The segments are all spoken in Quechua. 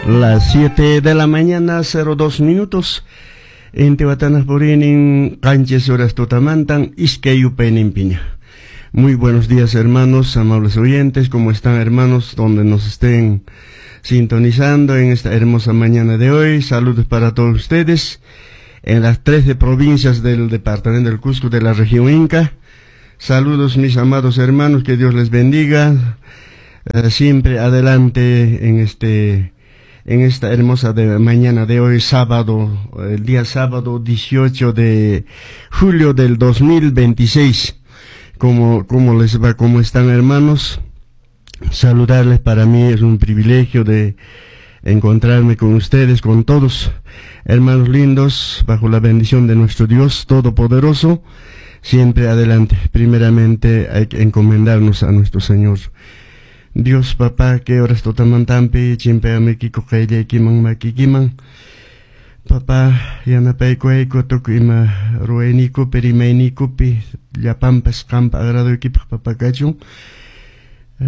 Las 7 de la mañana, 02 minutos. Intihuatanaq puriynin 7 horas tutamantan iskay yupayninpiña. Muy buenos días, hermanos, amables oyentes, ¿cómo están, hermanos? Donde nos estén sintonizando en esta hermosa mañana de hoy. Saludos para todos ustedes en las 13 provincias del departamento del Cusco, de la región Inca. Saludos, mis amados hermanos, que Dios les bendiga. Siempre adelante en esta hermosa mañana de hoy, sábado, el día sábado 18 de julio del 2026. ¿Cómo les va? ¿Cómo están, hermanos? Saludarles para mí es un privilegio de encontrarme con ustedes, con todos, hermanos lindos, bajo la bendición de nuestro Dios Todopoderoso. Siempre adelante. Primeramente hay que encomendarnos a nuestro Señor. Dios papá, kay horas tutamantampi, chimpayamuykiku qayllaykiman makikiman. Papá, yanapaykuwayku tukuy ima ruwayniykupi, rimayniykupi, llapanpas qampa agradoykipaq, papá, kachun.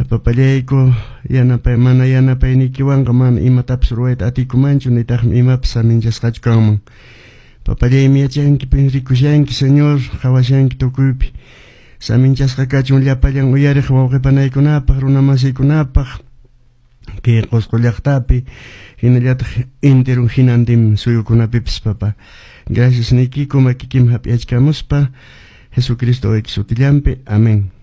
Papallayku, yanapay, mana yanapayniykiwanqa mana imatapas ruwayta atiykumanchu, nitaqmi imapas saminchasqachu kanman. Papallaymi yachanki, rikushanki, Señor, qhawashanki tukuypi. Saminchasqa kachun llapallan uyariq wawqi panaykunapaq, runa masiykunapaq, kay Qusqu llaqtapi, hinallataq enteron hinantin suyukunapipis, papá. Gracias niykiku makikiman hap'iyachkamuspa, Jesucristo wawayki sutillanpi. Amén.